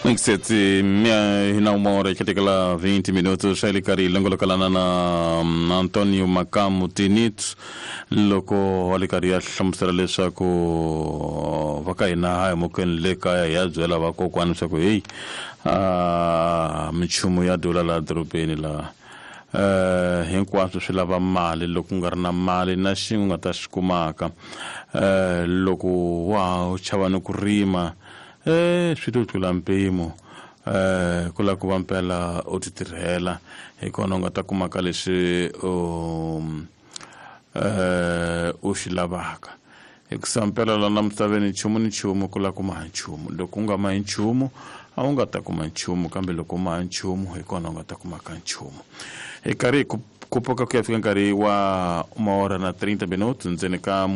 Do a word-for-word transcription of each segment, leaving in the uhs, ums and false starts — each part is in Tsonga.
Sete na uma hora e lá vinte minutos ele kari longolokalana na Antonio Makamu Tinito loko a karhi a hlamusela leswaku va ka hina hi mukeni le kaya hi ya byela vakokwani leswaku heyi a minchumu ya dula laha dorobeni laha eh hinkwaswo swi lava mali loko u nga ri na mali na xin'we u nga ta xi kumaka eh loko wa u chava ni ku rima eh swi to tlula mpimo eh ku lava ku va mpela u ti tirhela hi kona u nga ta kumaka leswi u eh u xi lavaka hikusa mpela lana misaveni nchumu ni nchumu ku lava ku maha nchumu loko u nga mahi nchumu a wu nga ta kuma nchumu kambe loko u maha nchumu hi kona u nga ta kumaka nchumu hi karhi hi ku pfuka ku ya fika nkarhi wa uma hora na trinta minutos ndzeni ka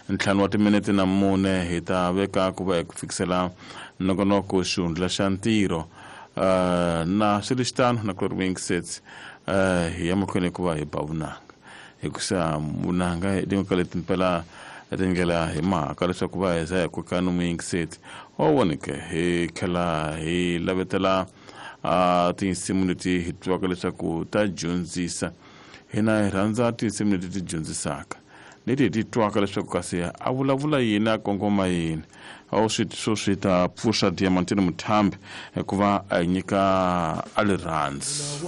ntlhanu wa timinete na mune hi ta veka ku va hi ku fikisela nongonoko xihundla xa ntirho uh, na swi xitano na ku ri sets uh, hi ya mahlweni ku va hi ba vunanga hikusa vunanga hi tin'we ka leti mpela tindlela hi mhaka leswaku va heza hi koka no muyingiseti wa voneke hi tlhela hi lavetela uh, tinsimu leti hi twaka leswaku ta dyondzisa hina hi rhandza tinsimu leti ti dyondzisaka leti hi ti twaka leswaku kasi a vulavula yini a kongoma yini a wu swi swo swi ta pfuxa Diamantino Muthambi hikuva a hi nyika a rirhandzu.